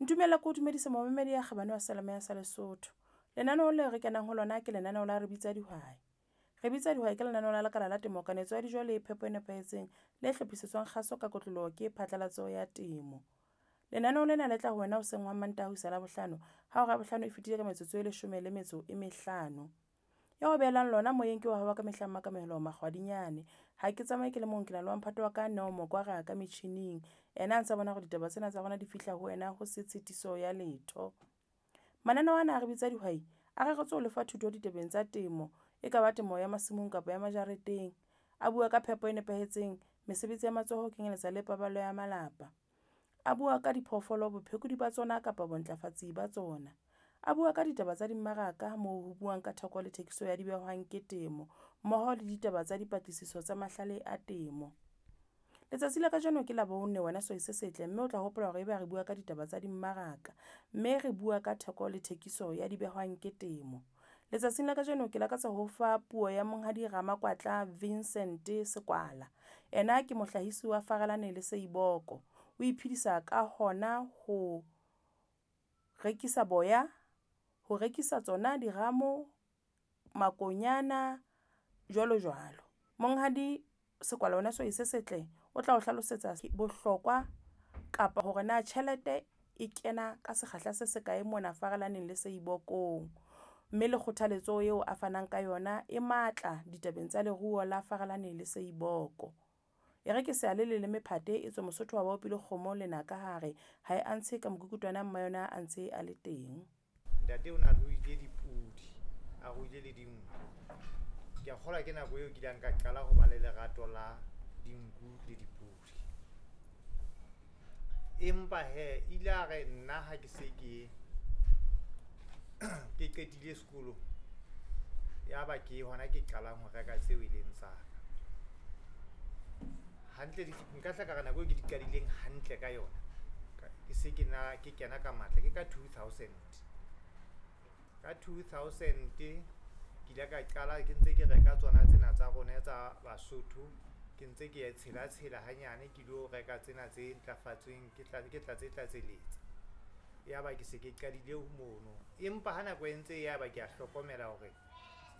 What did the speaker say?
Ntumella ke o dumedise momamedi ya kgabane wa Seyalemoya sa Lesotho. Lenaneo leo re kenang ho lona ke lenaneo la Re Bitsa Dihwai. Re Bitsa Dihwai ke lenaneo la lekala la temo, kanetso ya dijo le phepo e nepahetseng le hlophisetswang kgaso ka kotloloho ke phatlalatso ya temo. Lenaneo lena le tla ho wena hoseng hwa Mantaha ho isa Labohlano ha hora ya bohlano e fetile ka metsotso e leshome le metso e mehlano. Ya o behelang lona moyeng ke wa hao wa ka mehla Mmakamehello Makgwadinyane. Ha ke tsamaye ke le mong, ke na le wa mphato wa ka Neo Mokwara ka metjhining, ena a ntsa bona hore ditaba tsena tsa rona di fihla ho wena ho se tshitiso ya letho. Mananeo ana a re bitsa dihwai a reretswe ho lefa thuto ditabeng tsa temo, e ka ba temo ya masimong kapa ya majareteng. A bua ka phepo e nepahetseng, mesebetsi ya matsoho ho kenyeletsa le paballo ya malapa. A bua ka diphoofolo, bophekodi ba tsona kapa bontlafatsi ba tsona. A bua ka ditaba tsa dimmaraka moo ho buang ka theko le thekiso ya dibehwang ke temo, mmoho le ditaba tsa dipatlisiso tsa mahlale a temo. Letsatsi la kajeno ke Labone wena sehwai se setle, mme o tla hopola hore ebe re bua ka ditaba tsa dimmaraka, mme re bua ka theko le thekiso ya dibehwang ke temo. Letsatsing la kajeno ke lakatsa ho fa puo ya Monghadi Ramakwatla Vincent Sekwala. Ena ke mohlahisi wa Farelane le Seiboko. O iphedisa ka hona ho rekisa boya, ho rekisa tsona diramo, makonyana jwalo jwalo. Monghadi Sekwala wena sehwai se setle, o tla o hlalosetsa bohlokwa kapa hore na tjhelete e kena ka sekgahla se sekae mona Farelaneng le Seibokong. Mme le kgothaletso eo a fanang ka yona e matla ditabeng tsa leruo la Farelane le Seiboko. E re ke se ya le leleme phate e tswe Mosotho wa ba opile kgomo lenaka ha re, ha e antshe ka mokukutwana mma yona a ntse a le teng. Ntate o na ruile dipudi, a ruile le dinku. Ke a kgolwa ke nako eo ke ileng ka qala ho ba le lerato la dinku le dipudi. Empa hee ile a re nna ha ke se ke ke qetile sekolo, ya ba ke hona ke qalang ho reka tseo e leng tsa ka. Hantle nka hla ka re nako eo ke di qadileng hantle ka yona, ke se ke na ke kena ka matla ke ka 2000. Ka 2000 ke ile ka qala ke ntse ke reka tsona tsena tsa rona tsa Basotho, ke ntse ke tshela tshela hanyane ke lo reka tsena tse ntlafatsweng, ke tla ke tlatse tlatseletsa. Ya ba ke se ke qadile mono, empa ha nako e ntse e ya ba ke a hlokomela hore